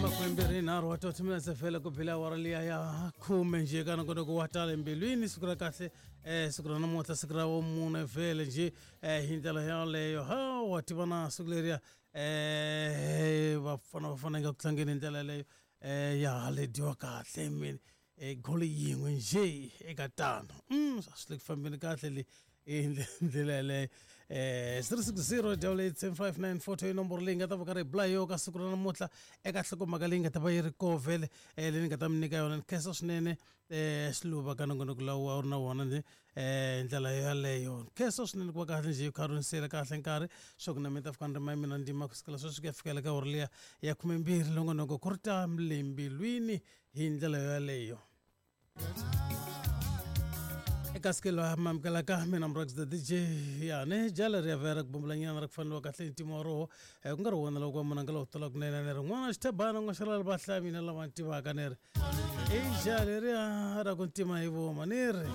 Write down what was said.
Makumbirhi nharhu wa 30 minutes vhele ku bile awara liya ya khume njhe ka nongonoko wa tala mbilwini. Siku ra kahle, siku ra namuntlha, siku ra vumune vhele njhe, hi ndlela yaleyo. Ha wa tiva na siku leriya, vafana va fanele ku tlangeni hi ndlela yaleyo, ya le dyiwa kahle mini, goli yin'we njhe eka tano. A swi le ku fambeni kahle le hi ndlela yaleyo. 360 8 8 75 9 4 i nomboro leyi nga ta va karhi hi bula hi yo ka siku ra namuntlha eka nhlokomhaka leyi nga ta va yi ri koho vhele, leyi ni nga ta mi nyika yona. Ni khensa swinene, xiluva ka nongonoko lowu a wu ri na wona ni ndlela yaleyo. Ni khensa swinene ku va kahle njhe kha ri nisiyela kahle nkarhi swa ku na mi ta fika ni ri ma mina ndzima kusukela sweswi ku ya fikela ka hora liya ya 12. Nongonoko ku ri ta le mbilwini hi ndlela yaleyo. Eka siku loyi mamukelaka mina Murax the DJ yani jala ri ya vera ku bumbulanyana ra ku faneliwa kahle hi ntimo wa roho, ku nga ri wona loko wa munhu a nga lowu tala kunene ni ri n'wana xithebana n'wa xalala va hlaya mina lava ni tivaka ni ri i jala leriya ra ku ntima hi voma ni ri.